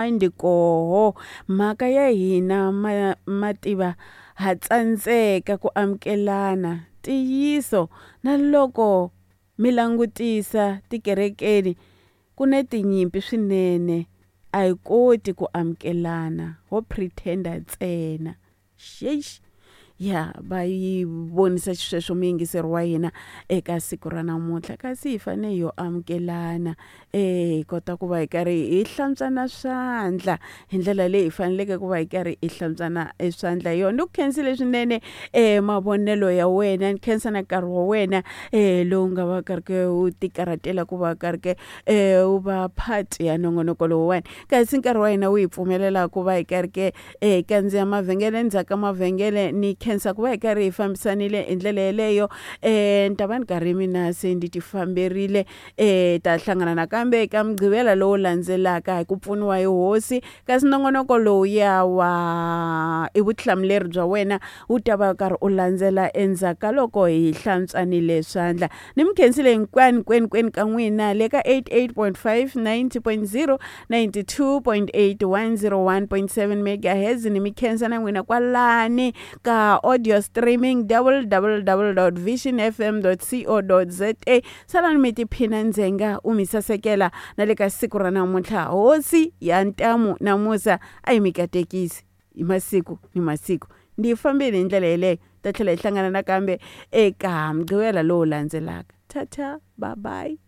Ndi koho mhaka ya hina ma mativa ha tsandzeka ku amukelana ntiyiso na loko mi langutisa tikerekeni ku na tinyimpi swinene a hi koti ku amukelana ho pretend-a ntsena xexi ya va yi vonisa xisweswo muyingiseri wa hina eka siku ra namuntlha kasi hi fanele hi yo amukelana hi kota ku va hi karhi hi hlantswana swandla hi ndlela leyi hi faneleke ku va hi karhi hi hlantswana e swandla hi yona. Ni ku khensile swinene mavonelo ya wena ni khensa na nkarhi wa wena lowu nga va karhi ke u ti karhatela ku va karhi ke u va part ya nongonoko lowuwani kasi nkarhi wa hina wu hi pfumelela ku va hi karhi ke hi kandziya mavhengele endzhaku ka mavhengele ni khensa ku va hi karhi hi fambisanile hi ndlela yeleyo ni ta va ni karhi mina se ndi ti famberile ta hlangana nakambe eka mugqivela lowu landzelaka hi ku pfuniwa hi hosi kasi nongonoko lowuya wa i vutihlamuleri bya wena wu ta va karhi u landzela endzhaku ka loko hi hlantswanile swandla ni mi khensile hinkwanu kwenu kwenu ka n'wina le ka 88.5 90.0 92.8 101.7 megahertz ni mi khensa na n'wina kwalani ka audio streaming www.visionfm.co.za salani mi tiphina ndzenga u mi sasekela na le ka siku ra namuntlha hosi ya ntamu na musa a yi mi katekisi hi masiku ni masiku ndi fambile hi ndlela yeleyo ta tlhela hi hlangana nakambe eka mugqivela lowu landzelaka tata bye bye.